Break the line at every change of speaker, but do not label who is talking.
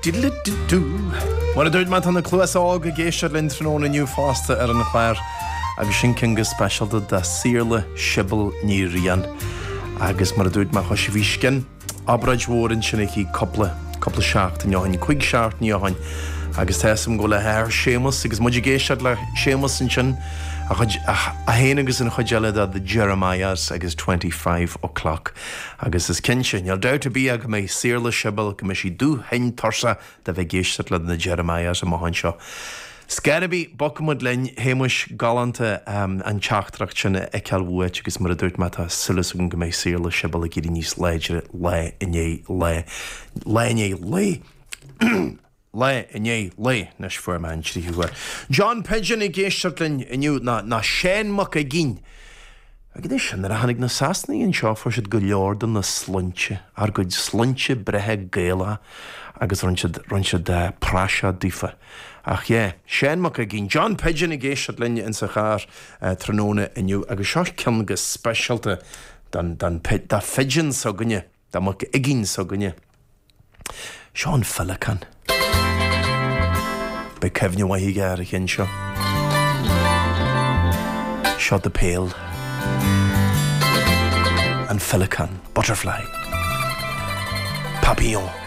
Diddle-di-doo. Mar a dúirt mé, tá na Cluasa Óga ag éisteacht linn tráthnóna inniu fosta ar an chlár agus sin ceann go speisialta do Saorla Sibéal Ní Riain. Agus mar a dúirt mé, thoisigh bhí scian obráid mhór ansin aici cúpla, cúpla seachtain ó shin, cuig seachtainí ó shin agus tá 'fhios a'm go bhfuil a hathair Séamus agus muid ag éisteacht le Séamus ansin, a chuid, é féin agus an chuid eile de The Jeremiahs agus 25 O'Clock. Agus is cinnte, níl dabht ar bith ach go mbeidh Saorla Sibéal, go mbeidh sí dubh tinn tuirseach de bheith ag éisteacht le na Jeremiahs amach anseo. Scor ar bith, bogfaidh muid linn, Shéamuis, galánta an teachtaireacht sin a fheiceáil uait agus mar a dúirt mé tá súil agam go mbeidh Saorla Sibéal ag éirí níos láidre lá i ndiaidh lae, lá i ndiaidh lae. Lá i ndiaidh lae, anois fuair mé an tríú huair. John Pigeon ag éisteacht linn inniu, ná, ná Seán Mac Uiginn. Agus anois, nuair a tháinig na Sasanaigh anseo fuair siad go leor de na sloinnte, ár gcuid sloinnte breátha Gaelacha agus rinne siad, rinne siad praiseach daofa. Ach yeah, Seán Mac Uiginn, John Pigeon ag éisteacht linn insa charr tráthnóna inniu agus seo ceann go speisialta don, don, do Phigeon s'againne. Do Mhac Uiginn s'againne. Seo an Féileacán. Beidh cuimhne mhaith aige ar an cheann seo. Seo The Pale. An Féileacán. Butterfly. Papillon.